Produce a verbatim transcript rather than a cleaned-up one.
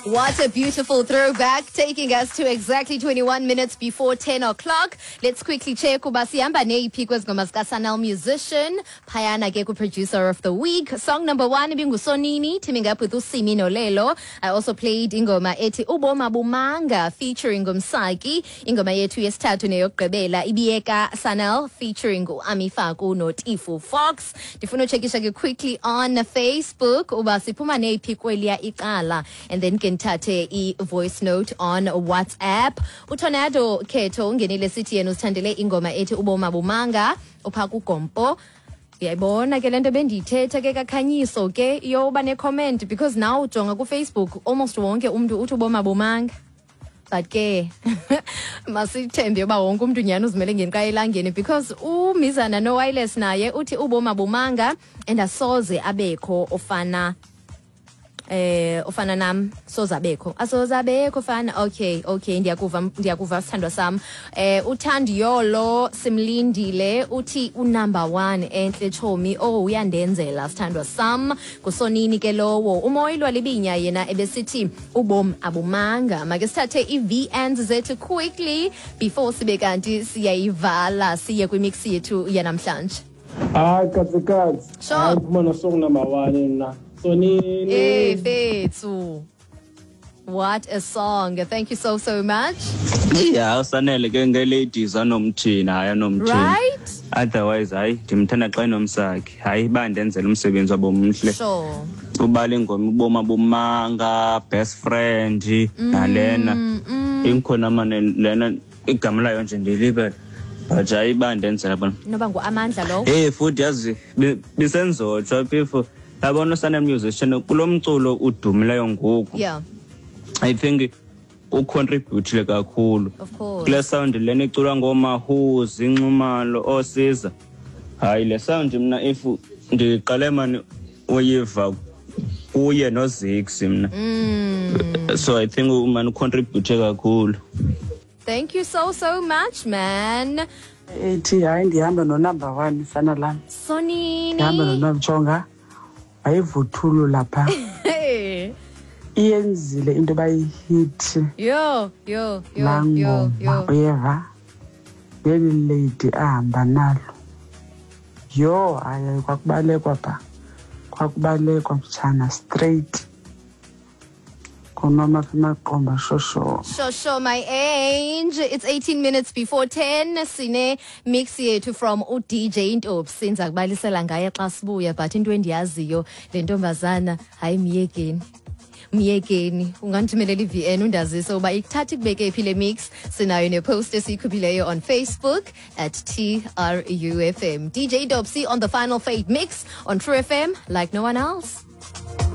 What a beautiful throwback, taking us to exactly twenty-one minutes before ten o'clock. Let's quickly check uba sihamba neyiphi kwezi ngoma zikaSanel Musician. Phayana ke ku-producer of the week. Song number one ibinguSonini, teaming up with uSimi Nolelo. I also played ingoma ethi Uboma Bumanga featuring Umsaki. Ingoma yethu yesithathu neyokugqibela ibiyeka Sanel featuring uAmi Faku noTifu Fox. Ndifuna uchekisha ke quickly on Facebook uba siphuma neyiphi kweliya icala, and then ke ndithathe i-voice note on WhatsApp. UTornado Khetho ungenile sithi yena uzithandele ingoma ethi Uboma Bumanga upha kuGompo. Uyayibona ke le nto bendiyithetha ke kakhanyiso ke yoba ne-comment, because now ujonga kuFacebook almost wonke umntu uthi uboma bumanga. But ke masithembe uba wonke umntu nyhani uzimele ngenqa elangeni, because umizana no-wireless naye uthi uboma bumanga and asoze abekho ofana eh ofana nam, soze abekho, asoze abekho fana. Okay, okay, ndiyakuva, ndiyakuva sithandwa sam. eh uThandiyolo Simlindile uthi unumber one enhle chomi. Oh, uyandenzela sithandwa sam, kusonini ke lowo. Umoyilwa Libinya yena ebesithi ubom abumanga. Make sithathe i-V Ns zethu quickly before sibe kanti siyayivala siye kwimix yethu yanamhlanje. Hayi katsikatsi. Sure. Hayi, phuma no-song number one mna. Sonini. Hey, Fethu. What a song. Thank you so, so much. Yeah, usanele ke nge-ladies anomthini, hayi anomthini. Right? Otherwise hayi ndimthanda xa enomsakhe. Hayi bandenzela umsebenzi wabo mhle. Sure. Ubala ingoma uboma bumanga, best friend nalena. Inkhona mane lena igama layo nje ndilibele. But hayi bandenzela bona. Noba nguAmandla lowo. Hey futhi yazi bisenzotsho people. Yabona uSanel Musician kulo mculo udumileyo ngoku. Yeah. I think ucontribute kakhulu. Of course. Kule sound lena iculwa ngoMahuzi, Inxumalo, Osiza. Hayi le sound mina if ndiqale mani uyiva kuye noZix mina. Mm. So I think man ucontribute kakhulu. Thank you so so much, man. Ethi hayi ndihamba no number one sana lam. Sonini. Ndihamba no Nomjonga. Wayivuthulu lapha. Iyenzile into bayihit. Yo yo yo yo yo. Uyeva. Leli lady ahamba nalo. Yo hayi kwakubalekwa pha. Kwakubalekwa mtshana straight. Konoma maqomba shosho. Shosho my angel. It's eighteen minutes before ten. Sine mix yethu from u D J Ntobs. Sinza kubalisela ngaye xa sibuya, but into endiyaziyo le ntombazana hayi miyekeni. Miyekeni ungandithumelela i-V N undazise uba ikuthatha ikubeke phi le mix. Sinayo nepost esiyikhuphileyo on Facebook at T R U F M. D J Ntobs on the Final Fate mix on True F M like no one else.